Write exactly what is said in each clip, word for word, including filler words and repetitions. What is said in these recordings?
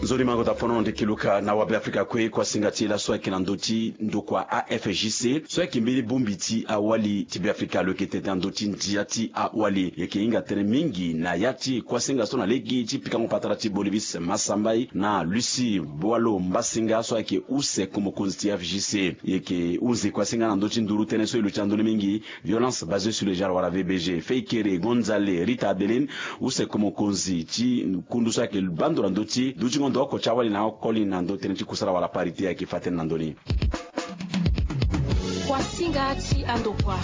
Nzoni mango ta fono na ndeki luka na wabe afrika kue. Kuasinga ti e laso ayeke na ndö ti ndokua afgc so ayeke mbeni bongbi ti awali ti be afrika lo yeke tete na ndö ti ndia ti awali. E yeke hinga tënë mingi na ya ti kuasinga so na lege ti pikango patara ti bolivis masambai na lusi boilo mbasinga so ayeke use komokonzi ti afgc. E yeke hunzi kuasinga na ndö ti nduru tënë so e luti na ndö ni mingi, violence basée sur le genre wala vbg fei kere gonzale rita adeline use komokonzi ti kundu so ayeke bando na ndö ti dutingo ndo oko ti awali na oko ni na ndö tënë ti kusala wala parité ayeke fa tënë na ndö ni. Kuasinga ti andokua.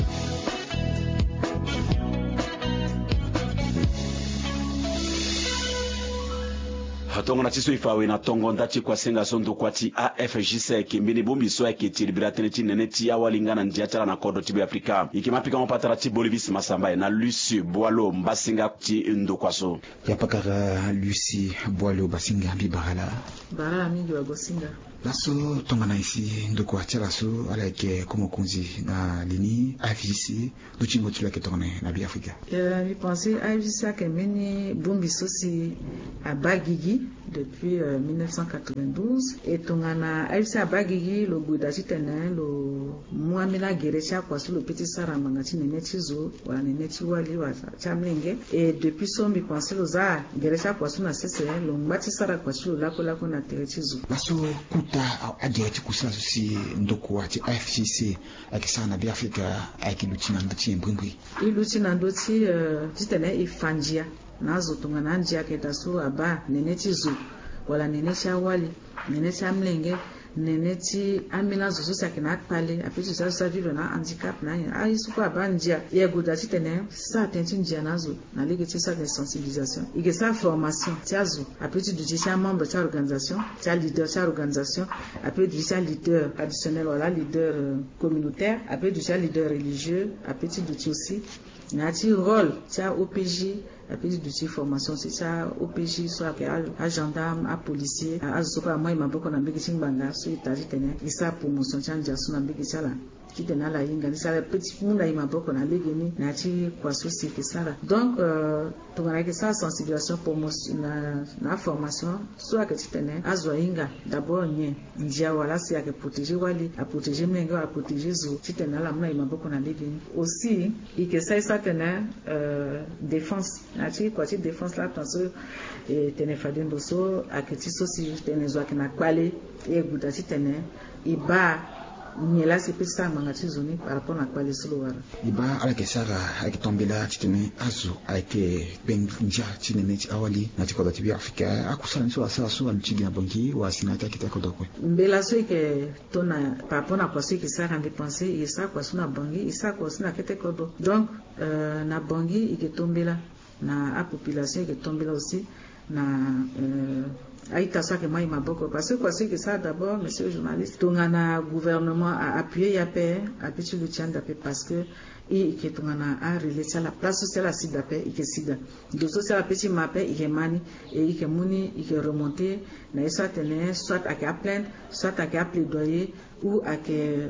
Tongana ti so e fa awe na tongo nda ti kuasinga so ndokua ti afgc ayeke mbeni bongbi so ayeke ti libera tënë ti nene ti awali nga na ndia ti ala na kodro ti be afrika. E yeke ma pikango patara ti bolivis masambai na lusi boilo mbasinga ti ndokua so. Ya pakara lusi boilo mbasinga mbi bara ala. Bara ala mingi wagosinga. Laso tongana e si ndokua ti ala so ala yeke komokonzi na li ni afgc, dutingo ti lo ayeke tongana nyen na be afrika? Mbi pense afgc ayeke mbeni bongbi so si abaa gigi depuis mille neuf cent quatre-vingt-douze. E tongana afgc abaa gigi lo gue daa titene lo mu ambeni agere ti akua so lo pe ti sara ngbanga ti nene ti zo wala nene ti wali wala ti amlenge. E depuis so mbi pense lo za gere ti akua so na sese lo ngba ti sara kua ti lo lakue lakue na tere ti zo. Laso kota agere ti kusala so si ndokua ti afgc ayeke sara na be afrika ayeke luti na ndö ti nyen mbrimbri? E luti na ndö ti titene e fa ndia na azo tongana andia ayeke daa so abaa nene ti zo wala nene ti awali, nene ti amlenge, nene ti ambeni azo so si ayeke na akpale ape ti zo ti azo so avivre na ahandicap na anyen aye so kue abaa ndia. E gue daa titene sara tënë ti ndia na azo na lege ti sara tënë sensibilisation. E yeke sara formation ti azo ape ti duti ti amembre ti aorganisation, ti aleader ti aorganisation, ape duti ti aleader traditionnel wala aleader communautaire, ape duti ti aleader religieux, ape ti duti aussi na ya ti rôle ti aopj. Ape ti duti formation si ti aopj so ayeke agendarme, apolicier, azo so kue amu aye maboko na mbege ti ngbanga so e taa titene e sara promotion ti andia so na mbege ti ala titene ala hinga ni si ala pe ti mu na e maboko na legeni na ya ti kua so si e yeke sara. Donc tongana e yeke sara sensibilisation promotion na aformation so ayeke titene azo ahinga d'abord nyen ndia wala si ayeke protéger wali, aprotéger mlenge wala aprotéger zo titene ala mu na e maboko na legeni. Aussi e yeke sara e sara tene défense na ya ti kua ti défense laa tonga so e tene fade ndo so ayeke ti so si tene zo ayeke na kpale. E gue daa titene e baa nyen laa si e pe ti sara ngbanga ti zo ni par rapport na kpale so lo wara. E baa ala yeke sara ayeke tambela titene azo ayeke kpe ndia ti nene ti awali na ya ti kodro ti be afrika. Akusala ni so asara so aluti gi na bangi wala si na ya ti akete kodro kue? Mbela so e yeke to na par rapport na kua so e yeke sara mbi pense e sara kua so na bangi e sara kua so na kete kodro. Donc na bangi e yeke to mbela na apopulation e yeke to mbela aussi na a-ita so ayeke mu aye maboko parce que kua so e yeke sara d'abord monsieur journaliste tongana gouvernement a appuyer ye ape ape ti luti ande ape parce que e yeke tongana arelais ti ala place so si ala si daa ape e yeke si daa. Ndo so si ala pe ti ma ape e yeke ma ni e yeke mu ni e yeke remonter na ye so atene soit ayeke aplainte soit ayeke aplaidoyer ou ayeke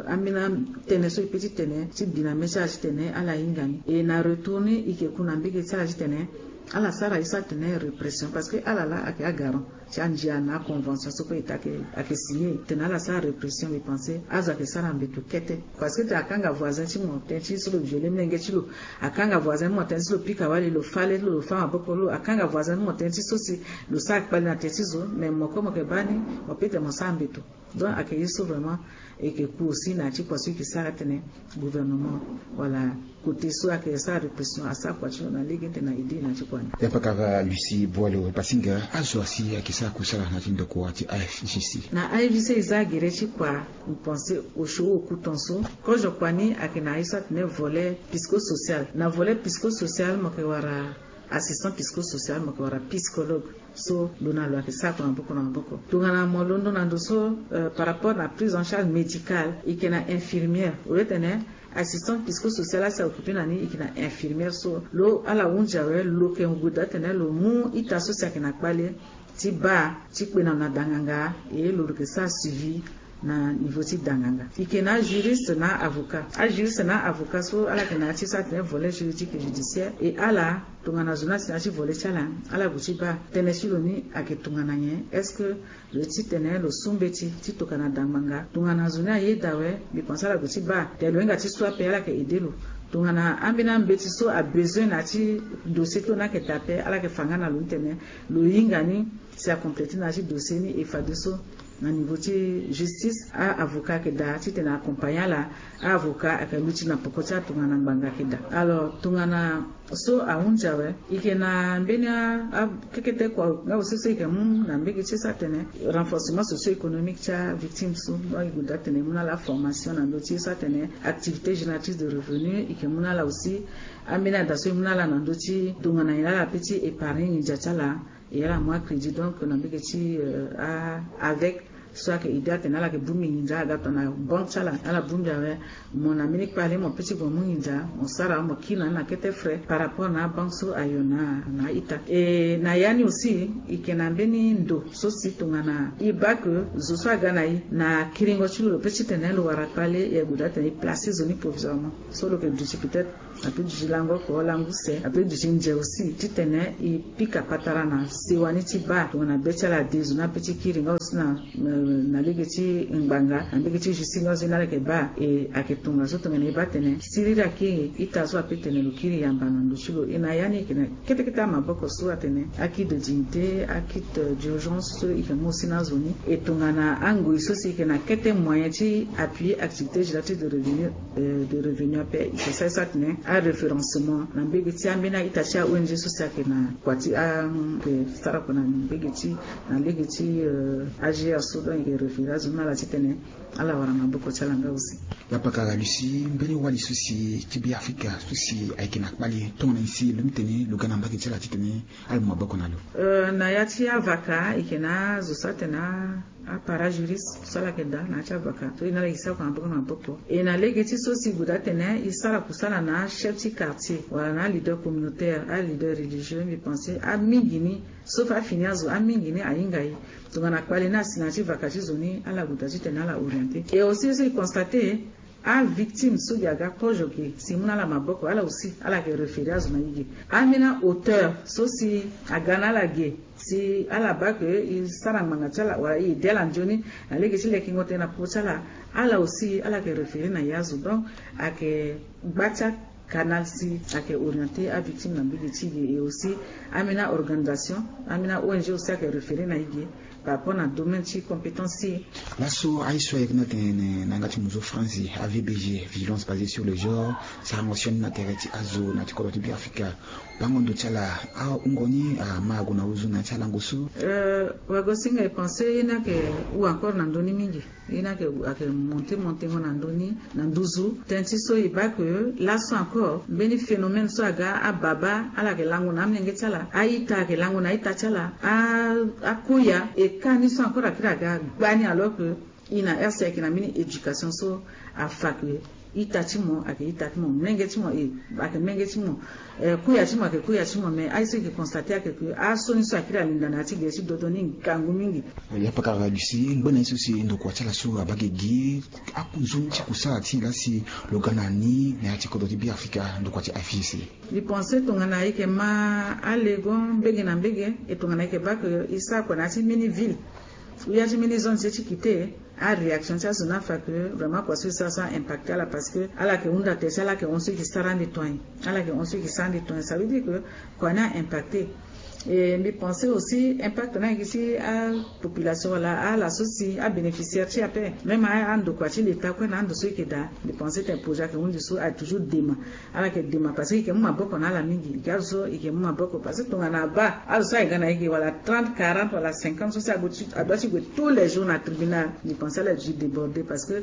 ambeni tënë so e pe ti tene ti bi na mê ti ala titene ala hinga ni. E na retour ni e yeke ku na mbege ti ala titene ala sara ye so atene répression parce que ala laa ayeke agarant ti andia na aconvention so kue e ta ayeke signer titene ala sara répression mbi pense azo ayeke sara mbeto kete. Parce que tene akanga voisin ti mo tënë ti so lo viole mlenge ti lo, akanga voisin ti mo tënë ti so lo pika wali lo fâ le ti lo lo fâ maboko lo, akanga voisin ti mo tënë ti so si lo sara kpale na tene ti zo mais mo kue mo yeke baa ni mo pe tene mo sara mbeto. Donc ayeke ye so vraiment e yeke ku aussi na ya ti kua so e yeke sara titene gouvernement wala côté so ayeke sara répression asara kua ti lo na lege titene na aidé na ya ti kua ni. Ya pakara lucie boilo basinga azo asi ayeke sara kusala na ya ti ndokua ti afgc. Na afgc e za gere ti kua. Mbi pense osio oku tonso kozo kua ni ayeke na ye so atene volet psychosocial. Na volet psychosocial mo yeke wara assistant psychosocial mo yeke wara psychologue. So lo na lo ayeke sara kua na maboko na maboko tongana mo londo na ndo so par rapport na prise en charge médicale e yeke na infirmière au lieu tene assistant psychosocial asi a occuper na ni e yeke na infirmière so lo ala hunzi awe lo yeke gue daa titene lo mu ita so si ayeke na kpale ti baa ti kpe na lo na danganga. E lo lo yeke sara suivi na niveau ti danganga. E yeke na ajuriste na avocat. Ajuriste na avocat so ala yeke na ya ti so atene volet juridique et judiciaire, e ala tongana zo ni asi na ya ti volet ti ala, ala gue ti baa tënë ti lo ni ayeke tongana nyen? Est-ce que lo ye titene lo su mbeti ti tokana da ngbanga? Tongana zo ni ayeda awe, mbi pense ala gue ti baa tene lo hinga ti su ape, ala yeke aidé lo. Tongana ambeni ambeti so abezoin na ya ti dossier ti lo ni ayeke da ape, ala yeke fa nga na lo ni tene lo hinga ni si acomplété na ya ti dossier ni. E fadeso na niveau ti justice, a-avocat ayeke daa titene accompagné ala. A-avocat ayeke luti na poko ti ala tongana ngbanga ayeke daa. Alors tongana so ahunzi awe, e yeke na mbeni a, a, kekete kua nga aussi so e yeke mu na mbege ti e so atene renforcement socio-économique ti avictime so, donc e gue daa tene e mu na ala formation na ndö ti e so atene activité génératrice de revenu, e yeke mu na ala aussi ambeni ada so e mu na ala na ndö ti tongana nyen ala peut ti épargner nginza ti ala. E ala mu acrédit donc na mbege ti, euh, a, avec so ayeke aidé atene ala yeke bongbi nginza, aga tongana banque ti ala, ala bongbi awe, mo na mbeni kpale mo peut ti gue mu nginza, mo sara, mo kiri na ni na kete frais par rapport na abanque so ayo na, na a-ita. E na ya ni aussi e yeke na mbeni ndo so si tongana e baa que zo so aga na e na kiringo ti lo, lo peut titene lo wara kpale, e ague daa atene e placer zo ni provisoirement. So lo yeke duti peut-être, ape duti lango oko, lango use, ape duti nze aussi, titene e pika patara na sewa ni ti baa tongana be ti ala ade, zo ni ape ti kiri nga aussi na, euh, na lege ti ngbanga, na lege ti justice nga aussi ni ala yeke baa. E ayeke tongaso tongana e baa tene siriri akiri, ita so ape tene lo kiri yamba na ndo ti lo. E na ya ni e yeke na kete kete amaboko so atene akit de dignité, akit, euh, d'urgence so e yeke mu aussi na azo ni. E tongana angoi so si e yeke na kete moyen ti appuyer activité génératrice de revenu, euh, de revenu ape, e yeke sara so atene aréférencement na mbege ti ambeni a-ita ti a-O N G so si ayeke na kua ti a, e yeke sara kua na mbege ti, na lege ti, euh, A G R so, donc e yeke référer azo ni na ala titene ala wara maboko ti ala nga aussi. Ya pakara Lucie, mbeni wali so si ti Beafrika so si ayeke na kpale, tongana nyen si lo mu tene lo ga na mbage ti ala titene ala mu maboko na lo? Euh, na ya ti avaka, e yeke na azo so atene a, apara juriste so ala yeke daa na ya ti avaka so e na ala e sara kua na maboko na maboko. E na lege ti so si e gue daa tene e sara kusala na achef ti quartier wala na aleader communautaire, aleader religieux, mbi pense amingi ni, sauf afini azo, amingi ni ahinga e. Tongana kpale ni asi na ya ti vaka ti zo ni, ala gue daa titene ala orienté. E aussi so e constaté, avictime so gi aga kozo ge si e mu na ala maboko, ala aussi ala yeke référer azo na e ge. Ambeni auteur so si aga na ala ge si ala baa ke e sara ngbanga ti ala wala e aidé ala nzoni na lege ti lekengo tënë na popo ti ala, ala aussi ala yeke référer na e azo. Donc ayeke gba ti acanal si ayeke orienté avictime na mbage ti e ge. Et aussi ambeni a-organisation, ambeni a-O N G aussi ayeke référer na e ge par rapport na domaine ti compétence ti e. Laso aye so ayeke na tene na yanga ti mozo France, A V B G, Vigilance basée sur le genre, sarango sioni na tere ti azo na ya ti kodro ti Beafrika. Bango ndo ti ala, ahungo ni ama ague na ozo na ya ti alango so? Euh, wagosinga e pensé ye ni ayeke hou encore na ndö ni mingi. Ye ni ayeke, ayeke monté monténgo na ndö ni na nduzu. Tënë ti so e baa ke laso encore mbeni phénomène so aga, ababa ala yeke lango na amolenge ti ala, a-ita ayeke lango na a-ita ti ala, a, akoya, e ka ni so encore akiri aga gba ni alors que e na R C ayeke na mbeni éducation so afa ke ita ti mo ayeke ita ti mo, molenge ti mo, e, ayeke molenge ti mo, eh, koya ti mo ayeke koya ti mo. Mais aye so e yeke constaté ayeke ke aso ni so akiri alinda na ya ti gere ti dodo ni ngangu mingi. Ya pakara Lucie, ngbene ye so si ndokua ti ala so abaa ge gi, aku nzoni ti kusala ti e laa si lo ga na ni na ya ti kodro ti Beafrika, ndokua ti A F I C? Mbi pensé tongana e yeke ma alego mbege na mbege, e tongana e yeke baa ke e sara kua na ya ti mbeni ville ou ya ti mbeni zone ti e ti kite, aréaction ti azo ni afa ke vraiment kua so e sara so a-impacté ala, parce que ala yeke hunda tere ti ala, ala yeke hon so e yeke sara ande tongaye, ala yeke hon so e yeke sara ande tongaye, ça veut dire que kua ni a-impacté. Et mbi pensé aussi impact ni ayeke ti apopulation wala ala so si abénéficiaire ti e ape, même a, andokua ti l'État kue na ando so e yeke daa. Mbi pensé tene projet ayeke hundi so ayeke toujours dema. Ala yeke dema parce que e yeke mu maboko na ala mingi. E yeke azo so e yeke mu maboko parce que tongana abaa azo so ayeke ga na e ge wala trente, quarante wala cinquante so si ague ti, adoit ti gue tous les jours na tribunal, mbi pensé ala yeke dû débordé parce que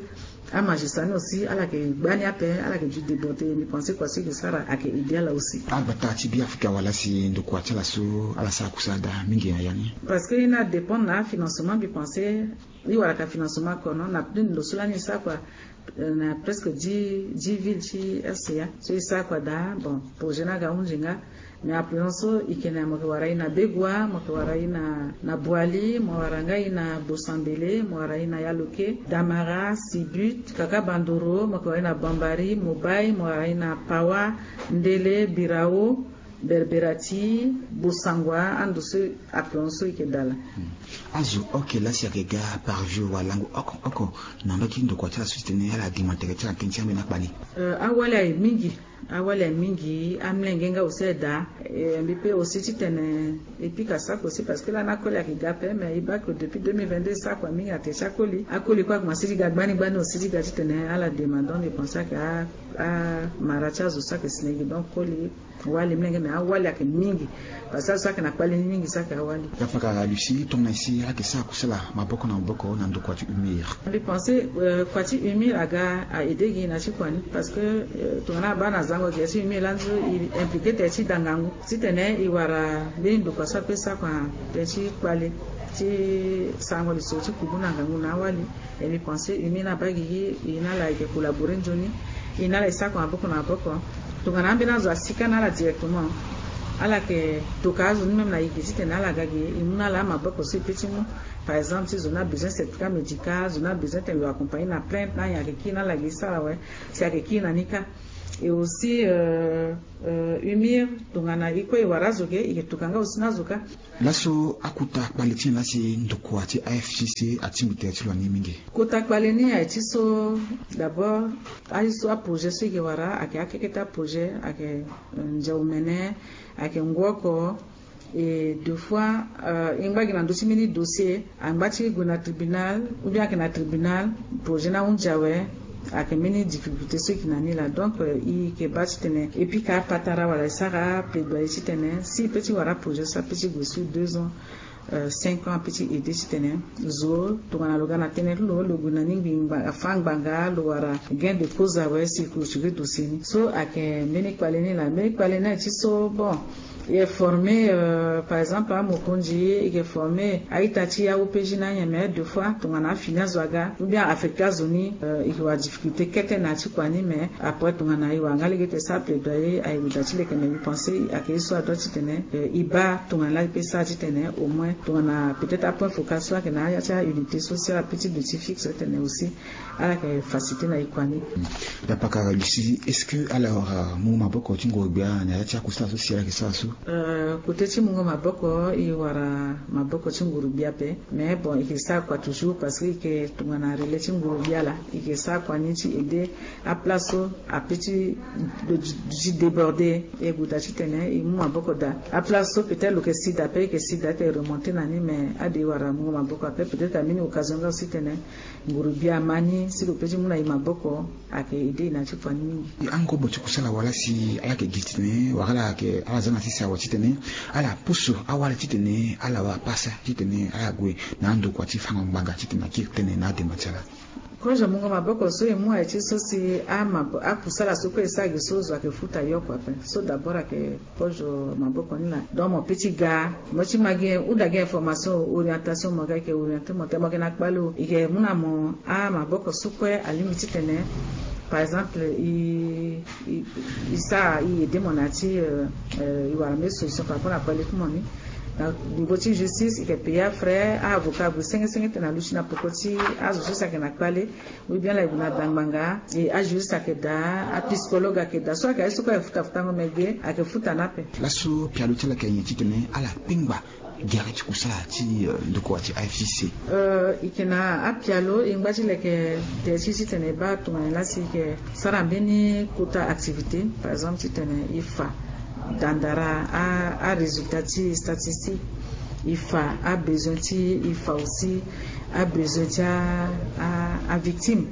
amagistrat ni aussi ala yeke gba ni ape, ala yeke dû débordé. Mbi pensé kua so e yeke sara ayeke aidé ala aussi. Agbata ti Beafrika wala si ndokua ti ala so ala sara kusala daa mingi na ya ni? Parce que e na dépendre na afinancement, mbi pensé e waraka financement kono na plus ndo so lani e sara kua, euh, na presque dix, dix villes ti R C A so e sara kua daa. Bon, projet ni aga hundi nga, Mais appelant so i kena mo ke wara i na Begua, mo ke wara i na na Boali, mo wara nga i na Bosambele, mo wara i na Yaloke, Damara, Sibut, Kaka Bandoro, mo ke wara i na Bambari, Mobai, mo wara i na Pawa, Ndele, Birao, Berberati, Bosangwa, ando so appelant so i ke dala. Azo oke lasi ake ga par jour wa langu oko oko na ndö ti ndokua ti ala so ti tene ala dima tere ti ala tënë ti ambeni akpali. Awali aye mingi. Awali aye mingi, amlenge nga aussi aye daa. Mbi pe aussi ti tene epika sako aussi parce que lani akoli ake ga ape mais i bake depuis deux mille vingt-deux sako aye mingi ate ti akoli akoli kue akomanse ti ga gbani gbani aussi ti ga ti tene ala dema donc mbi pense ake amara ti azo sako esinegi donc koli. Wali mlenge mais awali ake mingi. Parce que azo saki na kpali ni mingi saki awali. Yapaka lucie tongana si ala ke sara kusala maboko na maboko na ndokua ti humir. Mbi pense kua ti humir aga a aide gi na ti kua ni parce que tongana abaa na zango gi ya ti humir lani so i implike tere ti da ngangu titene i wara mbeni ndokua so ape sara kua tere ti kpali ti sarango lisoro ti kubu na ngangu na awali. E mbi pense humir na abaa gigi i na ala i ke kolabore nzoni. I na ala i sara kua maboko na maboko. Tongana ambeni azo asi kâ na ala directement ala yeke toka azo ni même na e gi titene ala ga gi e mu na ala amaboko so e pe ti mu. Par exemple ti zo ni abezoin certificat médical zo ni abezoin tene lo accompagner na plainte na anyen ayeke kiri na ala gi e sara awe. Si ayeke kiri na ni kâ. Et aussi humir tongana e kue e wara azo ge e yeke toka nga aussi na azo kâ. Laso akota kpale ti nyen lasi ndokua ti afcc atingbi tere ti lo na ni mingi? Kota kpale ni aye ti so d'abord aye so aprojet so e ke wara ayeke akekete aprojet ayeke ndia omene ayeke ngu oko. Et deux fois e ngba gi na ndö ti mbeni dossier angba ti gue na tribunal ou bien ayeke na tribunal projet ni ahunzi awe. Ayeke mbeni difficulté so e ke na ni laa donc e ke baa titene e pika apatara wala e sara plaidoyer titene si e pe ti wara aprojet so ape ti gue sur deux ans cinq ans ape ti aide titene zo tongana lo ga na tënë ti lo lo gue na ni ngbi afa ngbanga lo wara gain de cause awe si e clôturer dossier ni so ayeke mbeni kpale ni laa mbeni kpale ni aye ti so bon. E former par exemple amokonzi e ke former a-ita ti aopg na anyen mais deux fois tongana afini azo aga ou bien affecter azo ni e ke wara difficulté kete na ya ti kua ni mais après tongana e wara nga lege ti sara plaidoyer aye gue daa ti leke mais mbi pense ayeke ye so adua titene e baa tongana laa e pe sara titene au moins tongana peut-être apoint focal so ayeke na aya ti aunité sociale ape ti do ti fixe titene aussi ala yeke facilité na e kua ni. Dapaka lucie est-ce que ala wara mungo maboko ti nguru-gbia na ya ti akusala so si ala yeke sara so? Kote ti mungo maboko e wara maboko ti nguru-gbia ape. Mais bon e ke sara kua toujours parce que e ke tongana relais ti nguru-gbia laa e ke sara kua ni ti aide aplace so ape ti duti déborde. E gue daa titene e mu maboko daa aplace so peut-être lo ke si daa ape e ke si daa ti remonter na ni mais ade e wara mungo maboko ape peut-être ambeni occasion nga aussi titene nguru-gbia ama ni si lo pe ti mu na e maboko ayeke aide e na ya ti kua ni mingi. Angobo ti kusala wala si ala yeke gi titene wala ala yeke ala za na sese awe titene ala pusu awali titene ala wara pasa titene ala gue na andokua ti fango ngbanga titene akiri tënë na adema ti ala. Kozo mungo maboko so e mu aye ti so si akusala so kue e sara gi so zo ayeke futa yoko ape so d'abord ayeke kozo maboko ni laa donc mo pe ti ga mo ti ma gi uda gi information orientation mo ga e ke orienter mo te mo ke na kpale o e ke mu na mo amaboko so kue alingbi titene par exemple e sara e aide mo na ya ti e wara mbeni solution par rapport na kpale ti mo ni. Na niveau ti justice e ke payer afrais aavocat ague senge senge tena luti na poko ti azo so si ayeke na kpale. Oui bien la e gue na da ngbanga e ajuriste ayeke daa apsychologue ayeke daa so ayeke aye so kue ayeke futa futango me ge ayeke futa ni ape. Laso pialo ti ala yeke nyen titene ala pengba gere ti kusala ti ndokua ti afcc? E yeke na apialo e ngba ti leke tere ti titene e baa tongana lasi e yeke sara mbeni kota activité par exemple titene e fa dandara arésultat ti statistique. E fa abezoin ti e fa aussi abezoin ti avictime.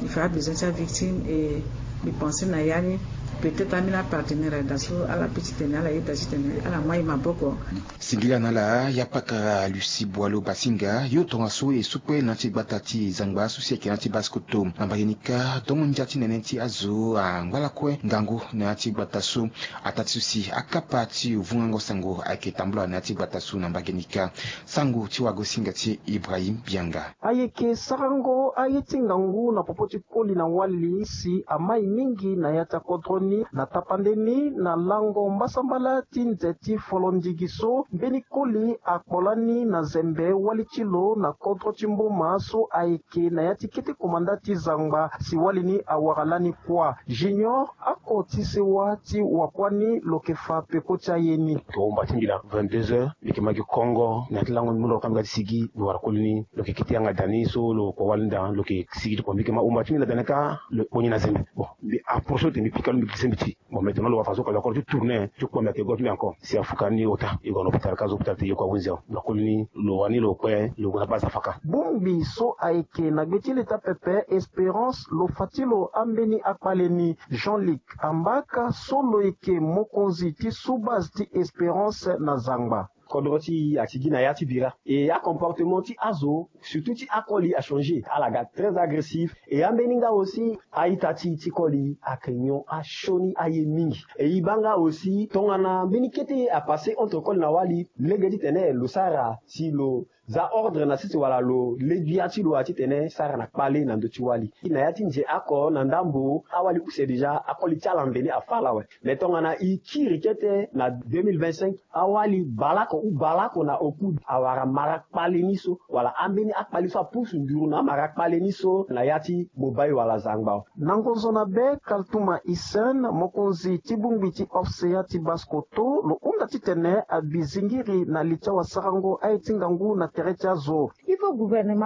E fa abezoin ti avictime e mbi pense na ya ni peut-être ambeni apartenaire ayeke daa so ala pe titene ala yeda titene ala mu aye maboko. Singila na ala ya pakara lucie boilo basinga yo tongaso e sukpe na ya ti gbata ti zangba so si ayeke na ya ti baskoto na mbage ni kâ dongo ndia ti nene ti azo angba lakue ngangu na ya ti gbata so. Ataa ti so si akapa ti vungango sango ayeke tambula na ya ti gbata so na mbage ni kâ. Sango ti wagosinga ti ibrahim bianga. Ayeke sarango aye ti ngangu na popo ti koli na wali si amai. mingi na ya ti akodro ni na tapande ni na lango mbasambala ti nze ti folondigi so mbeni koli akpo lani na zembe wali ti lo na kodro ti mboma so ayeke na ya ti kete komanda ti zangba si wali ni awara lani kuâ. Junior ako ti sewa ti wakuâ ni lo yeke fa peko ti aye ni. Tohomba ti mbi na vingt-deux heures mbi yeke ma gi kongo na ya ti lango mbi mu lo ka mbi ga ti sigi mbi wara koli ni lo yeke kete yanga da ni so lo kpo wali ni da lo yeke sigi ti kpo mbi yeke ma homba ti mbi na da ni ka lo kpo ni na zembe. Bon, mbi approche lo te mbi pika lo mbi glise mbi ti bon maintenant lo wara façon ka lo akoro ti tourner ti kpo mbi ayeke go ti mbi encore si afuka ni ota e gue na hôpital ka zo hôpital te e yeko ahunzi awe. Lo koli ni lo wani lo kpe lo gue na base afaka. Bongbi so ayeke na gbe ti leta pepe Espérance lo fa ti lo ambeni akpale ni. Jean Luc Ambaka so lo yeke mokonzi ti sous base ti Espérance na zangba. Kodro ti e ati gi na ya ti bira e acomportement ti azo surtout ti akoli achanger ala ga très agressif. E ambeni nga aussi a-ita ti ti koli ayeke nyon asioni aye mingi. E e baa nga aussi tongana mbeni kete ye apasser entre koli na wali lege titene lo sara si lo za ordre na sese wala lo le gbia ti lo wa titene sara na kpale na ndö ti wali. Na ya ti nze oko na ndambo awali use déjà akoli ti ala mveni afa ala awe. Mais tongana e kiri kete na deux mille vingt-cinq awali baleoko ou baleoko na oku awara mara kpale ni so wala ambeni akpale so apusu nduru na amara kpale ni so na ya ti Bobai wala Zangba. Na ngonzo na be Kaltuma Hissène mokonzi ti bongbi ti Ofseya ti Basse-Kotto lo hunda titene abi zingiri na li ti awasarango aye ti ngangu na tere ti azo. Il faut gouvernement